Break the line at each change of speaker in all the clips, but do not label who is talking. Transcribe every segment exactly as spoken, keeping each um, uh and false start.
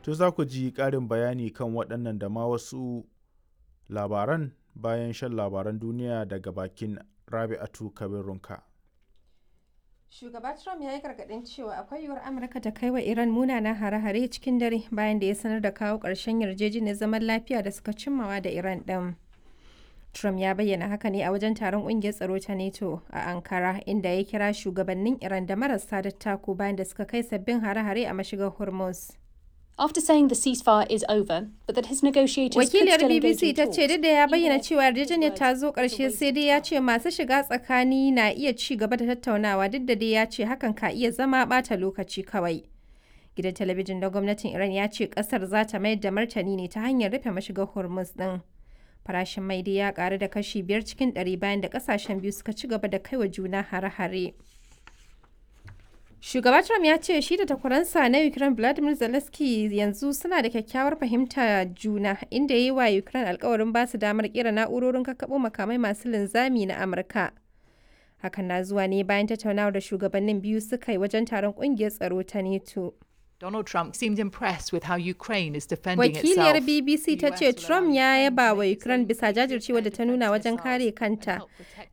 To za ku ji ƙarin bayani kan waɗannan da ma wasu labaran bayan shan labaran duniya daga bakin Rabi'atu Kabir Runka.
Shugaba Trump ya yi gargaɗin cewa akwai yiwuwar Amurka ta kai wa Iran munanan hare-hare cikin dare bayan da ya sanar da kawo ƙarshen yarjejeniyar zaman lafiya da suka cimmawa da Iran ɗin. Trump ya bayyana haka ne a wajen taron ƙungiyar tsaro ta NATO a Ankara, inda ya kira shugabannin Iran da marasa dattako bayan da suka kai sabbin hare-hare a mashigar Hormuz.
After saying the ceasefire is over, but that his negotiators could
Wakiliyar
still engage
B B C
in
ta ce
talks.
duk da ya bayyana cewa yarjejeniyar ta zo ƙarshe, sai dai ya ce masu shiga tsakani na iya ci gaba da tattaunawa, duk da dai ya ce hakan ka iya zama ɓata lokaci kawai. Gidan talabijin na gwamnatin Iran ya ce ƙasar za ta mayar da martani ne ta hanyar rufe mashigar Hormuz ɗin. Farashin mai dai ya ƙaru da kashi biyar cikin ɗari bayan da ƙasashen biyu suka ci gaba da kaiwa juna hare-hare. Shugaba Trump ya ce shi da takwaransa na Ukraine Vladimir Zelensky yanzu suna da kyakkyawar fahimta juna, inda ya yi wa Ukraine alkawarin ba su damar kera na'urorin kakkaɓo makamai masu linzami na Amurka. Hakan na zuwa ne bayan tattaunawar da shugabannin biyu suka yi wajen taron ƙungiyar tsaro ta NATO.
Donald Trump seemed impressed with how Ukraine is defending
Wakiliyar
itself.
B B C ta ce Trump ya yaba wa Ukraine bisa jajircewa da ta nuna wajen kare kanta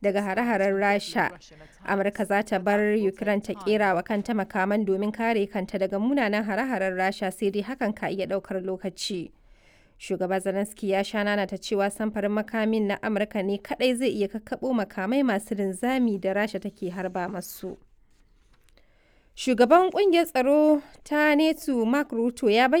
daga hare-haren Rasha. Amurka za ta bar Ukraine ta kera wa kanta makaman domin kare kanta daga munanan hare-haren Rasha, sai dai hakan ka iya daukar lokaci. Shugaba Zelensky ya sha nana ta cewa samfarin makamin na Amurka ne kadai zai iya kakkaɓo makamai masu linzami da Rasha take harba masu. Shugaban kungiyar tsaro ta NATO Mark Rutte ya bayyana